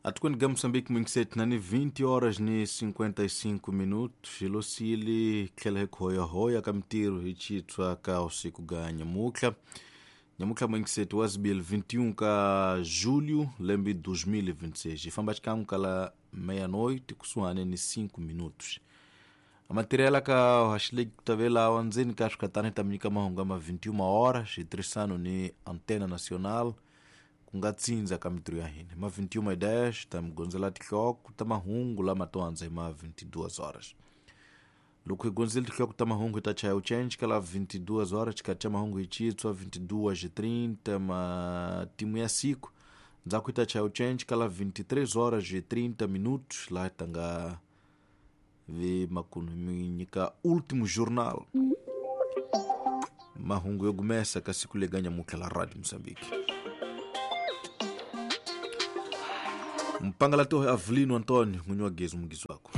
Atukweni ga Moçambique mwingiseti nani 20 horas ni 55 minutos xilosili tlhela hi khoyahoya ka mintirho hi chitshwa ka usiku ga nyamutlha nyamutlha mwingiseti wa zibili 21 ka julho lembe 2026 hi famba xikan'we kala meia-noite kusuhani ni 5 minutos amatirela ka haxileki ku tavelawa ndzeni ka swikatani ta mi nyika mahungu ma 21 horas hi tirhisano ni Antena Nacional ku nga tsindza ka mintirho ya hina ma 21:10 ta mi gondzela tinhloko ta mahungu lama to handza hi ma 22 horas. Loko hi gondzile tinhloko ta mahungu hi ta chaya uchenji ka la 22 horas xikati xa mahungu hi chitswa 22:30 matimu ya siku ndzhaku hi ta chaya uchenji ka la 23 horas 30 minutos laha hi ta nga vi makunu mi nyika último jornal mahungu yo gumesa ka siku lega nyamutlha la Radio Moçambique. Mpangalatohe Avelino Antônio, n'winyi wa gezi mugizi wako.